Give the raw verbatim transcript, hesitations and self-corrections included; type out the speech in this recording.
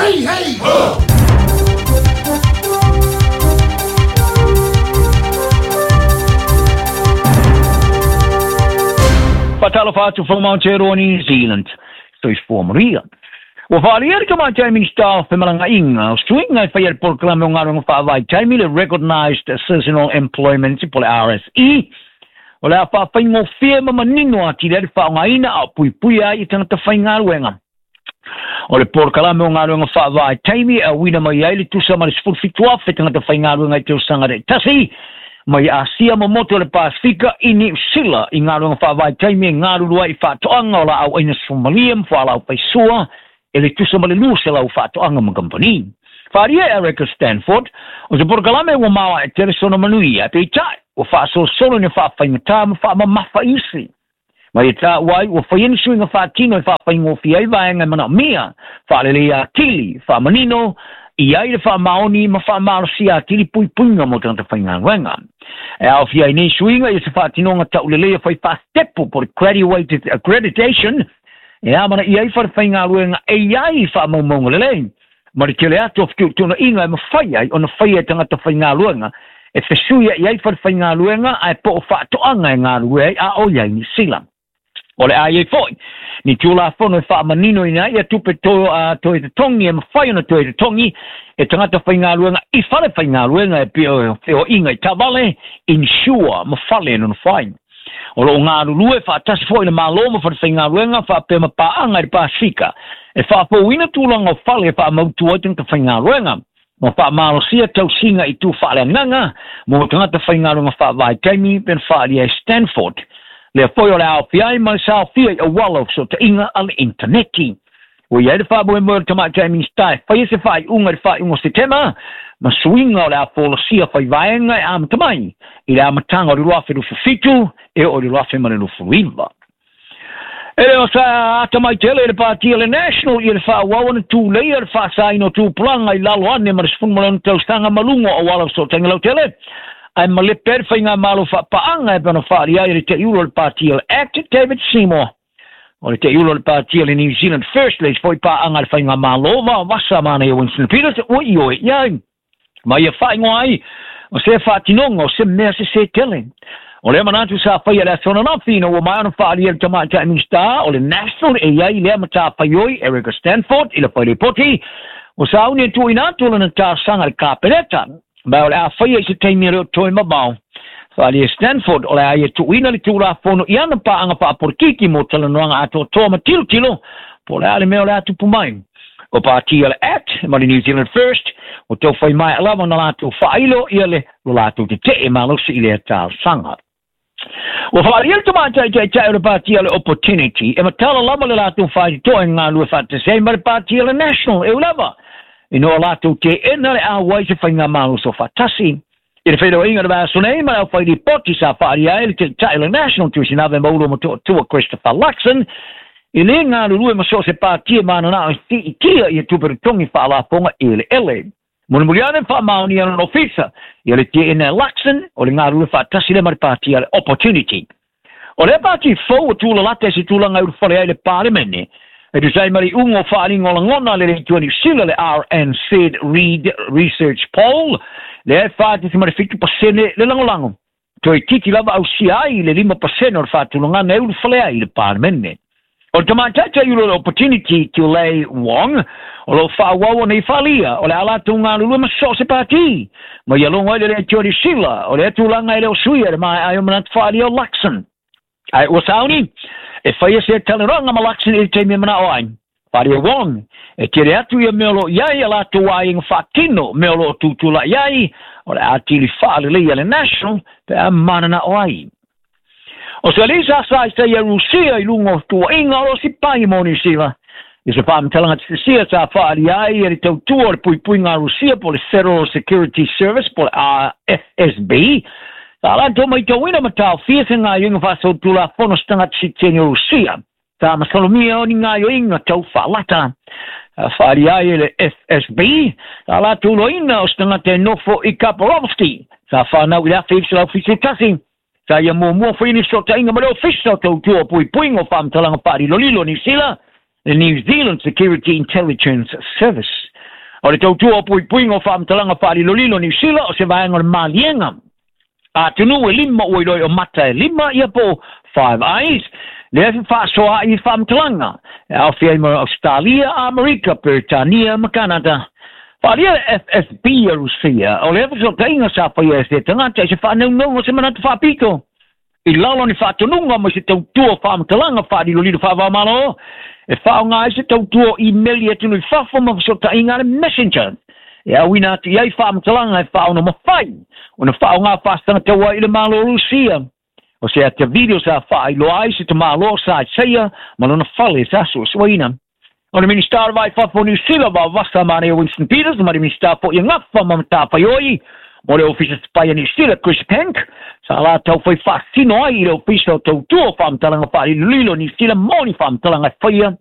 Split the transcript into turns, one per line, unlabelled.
Hey, hey, ho!
Fatalofa atu from Aotearoa New Zealand. Soifua Maria. Ua faalia le tamaitai Minista o Femalagaina o suiga e faia le polokalame o galuega faavaitaimi le Recognised Seasonal Employment po le R S E. O le a faafaigofie ma manino atili ai le faaaogaina a o puipuia ai i tagata faigaluega. O le polokalame o galuega faavaitaimi e auina mai ai le tusa ma le sefulu fitu afe tagata faigaluega i tausaga taitasi mai Asia ma motu o le Pasifika i Niu Sila i galuega faavaitaimi e galulue ai i faatoaga o laau aina Somalia ma fualaau faisua e le tusa ma le lua selau faatoaga ma kamupani. Faalia e Erica Stanford, o se polokalame ua maoae tele sona manuia, peitai ua faasolosolo ina faafaigata ma faamamafa isi. Ma ia taua ai ua faia ni suiga faatino e faafaigofie ai vaega e manaomia, faaleleia atili, faamanino, i ai le faamaoni ma faamalosia atili puipuiga mo tagata faigaluega. E aofia ai nei suiga ia se faatinoga tauleleia fai faasetepu po le graduated accreditation e amana i ai fale faigaluega e iai faamaumauga lelei. Ma le tele atu o fetuutuunaiga e mafai ai ona faia e tagata faigaluega e fesuia i ai fale faigaluega ae po o faatoaga e galulue ai a o i ai Niu Sila. O le a iai foi, ni tulafono e faamanino ina ia tupe to, uh, toe totogi e mafai ona toe totogi e tagata faigaluega i fale faigaluega e pei o feoaiga i taavale, insure ma fale e nonofo ai. O loo galulue faatasi foi le Malo ma fale faigaluega faapea ma paaga i le Pasifika e faafouina tulaga o fale e faamautu ai tagata faigaluega ma faamalosia tausiga i tu faaleagaga mo tagata faigaluega faavaitaimi pe na faaalia e Stanford. Lea foi o le aofia ai ma le saofia i auala o fesootaiga a le intaneti. Ua i ai le faamoemoe o le tamaitai Minista e faia se faaiuga i le faaiuga o Setema ma suiga o le a folasia faivaega e amata mai i le amataga o le lua afe luafufitu fitu e oo i le lua afe ma le luafuluiva. E le o sa atamai tele i le patia le National i le faaauau ona tuleia le faasaina o tupulaga i lalo ane ma le sefulu ma le ono tausaga ma luga o auala o fesootaiga lautele. Ae malepe ai le faigamalo faapaaga e pei ona faalia ai le teiulo o le patia le Act David Seymour. O le teiulo o le patia le New Zealand First le isi foi paaga a le faigamalo vaovasa manaia Winston Peters ua ioe i ai. Ma ia faaigoa ai o se faatinoga o se mea sesē tele. O lea manatu sa faia le aso ananafi ina ua maea ona faalia le tamaitai Minista o le National e iai lea matafaioi Erica Stanford i le failipoti o sauni e tuuina atu lana talosaga i le Kapeneta. Ma o le a faia i se taimi e le o toe mamao. Faalia Stanford o le a ia tuuina le tulafono i ana paaga faapolitiki mo talanoaga atoatoa ma tilotilo po o le a le mea o le a tupu mai. O patia le Act ma le New Zealand First o tau fai mai lava na latou faailo ia le lo latou tetee malosi i lea talosaga. Ua faalia le tamaitai taitai o le patia le Opportunity e matala lava le latou faitotoa e galulue faatasi ai ma le patia le National e ui lava ina o latou teena le auai se faigamaloso faatasi. I le feiloaiga o le vaiaso nei ma le aufailipoti sa faalia ai le taitai o le National Tuisinave Maulu ma Toatua Christopher Luxon i le galulue ma so o se patia mananao e siitia ia tupe totogi faalafoga eleele. Mulimuli ane faamaonia lona ofisa ia le teena e Luxon o le galulue faatasi lea ma le patia le Opportunity. O lea pati fou o tulalata e se tulaga e ulufale ai le Palemene. E tusa ai ma le iuga o faaaliga o lagona le leitua Niu Sila le R N Z Reid Research Poll lea e fa tesi ma le fitu pasene le lagolago. Toe titi lava ausia ai le lima pasene o le faatulagana e ulufale ai le Palemene. O le tamaitai ulo le Opportunity Tulei Wong o loo faaauau ona i faalia o le a latou galulue ma so o se pati. Ma ia logo ai le leitua Niu Sila o lea tulaga e le o suia le maea ai o manatu faalia o Luxon. Ae ua sauni e faia se talanoaga ma Luxon i le taimi e manao ai. Faalia Wong e tele atu ia mea o loo iai a latou aiga faatino mea o loo tutulai ai o le a atili faaleleia le National pe a mananao ai. O se alii sa sa i Rusia i luga o tuuaiga o loo sipai mo Niu Sila. I se faamatalaga tetesea sa faalia ai e le tautua o le puipuiga a Rusia po le Federal Security Service po le F S B. Sa latou maitauina ma taofia se gaioiga faasolitulafono se tagata sitiseni o Rusia. Sa masalomia o ni gaioiga tau faalata. Faalia ai e le F S B. Sa latou loina o se tagata e nofo i Kaparovsky. Sa whanau i le afe i fitu tasi. Sa ia muamua foi ni fesootaiga ma le ofisa o tautua o puipuiga o faamatalaga faalilolilo o Niu Sila, le New Zealand Security Intelligence Service. O le tautua o puipuiga o faamatalaga faalilolilo Niu Sila o se vaega o le maliega atunuu e lima ua iloa o mata e lima ia po Five Eyes lea e fefaasoaai i faamatalaga e aofia ai ma Ausetalia, Amerika, Peretania ma Kanata. Faaalia le F S B a Rusia o lea fesootaiga sa faia e se tagata i se faanaunauga o se manatu faapito i lalo ni faatonuga ma se tautua faamatalaga faalilolilo faava-o-Malo e faaaoga ai se tautua o imeli atunuu i fafo ma fesootaiga a le Messenger e auina atu i ai faamatalaga e faaono mafai ona faaaoga faasagatau ai i le Malo o Rusia. O se ata video sa faailoa ai se tamāloa sa isaia ma lona fale sa suesueina. O le Minista o le Vai Fafo Niu Sila Vaovasamanaia Winston Peters ma le Minista fo'i e gafa ma matafaioi mo le Ofisa Sipai a Niu Sila Chris Penk sa latau fai faasino ai i le Ofisa o Tautua o Faamatalaga Faalilolilo Niu Sila mo ni faamatalaga e faia.